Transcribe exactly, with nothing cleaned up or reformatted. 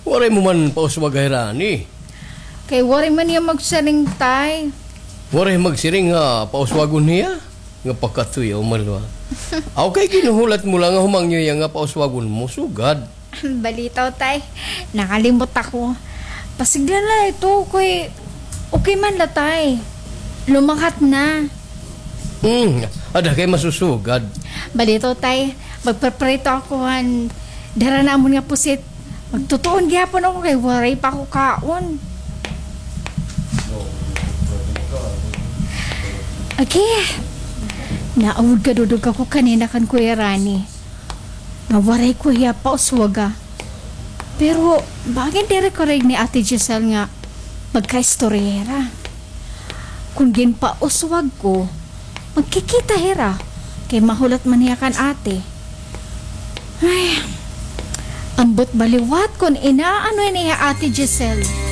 Waray mo man pauswag kay Rani. Kay waray man hiya magsiring, tay. Waray magsiring nga pauswagon hiya? Nga pakatuya, umalwa. Aw, kay ginhuhulat mo la nga humangyo hiya nga pauswagon mo, sugad. Balitaw, tay. Nakalimot ako. Pasigla la ito, kay okay man la, tay. Lumakat na. Hmm, ada kay masusugad. Balitaw, tay. Magpreprito ako han dara namon nga pusit. Magtutuon gihapon ako kay waray pa ako kaon. Okay. Naawod kadudog ako kanina kan Kuya Rani nga waray ko hiya pauswaga. Pero bangin diri ko rin ni Ate Giselle nga magkaistoryera. Kung ginpauswag ko, magkikita hira. Kay mahulat man hiya kan ate. Ay, ambot ba liwat kon inaano ini hi Ate Giselle.